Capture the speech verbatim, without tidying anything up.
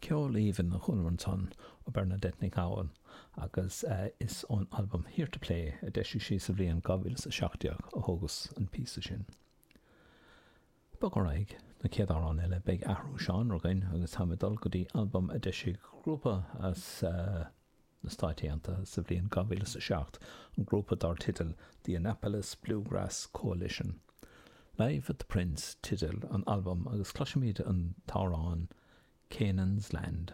Ceol aoibhinn a chualamar ansan ó Bernadette Nic Gabhann agus uh, is ón albam Here to Play a d'eisigh sí sa bhliain dhá mhíle a seacht déag a thógas an píosa sin. Bog ar aghaidh na chéad amhrán eile beidh athrú seánra againn agus táim ag dul go dtí albam a d'eisigh grúpa as uh, na Stáit Aontaithe sa bhliain dhá mhíle a seacht, an grúpa dar teideal The Annapolis Bluegrass Coalition. Live at the Prince teideal an albam agus cloisimid an t-amhrán Canaan's Land.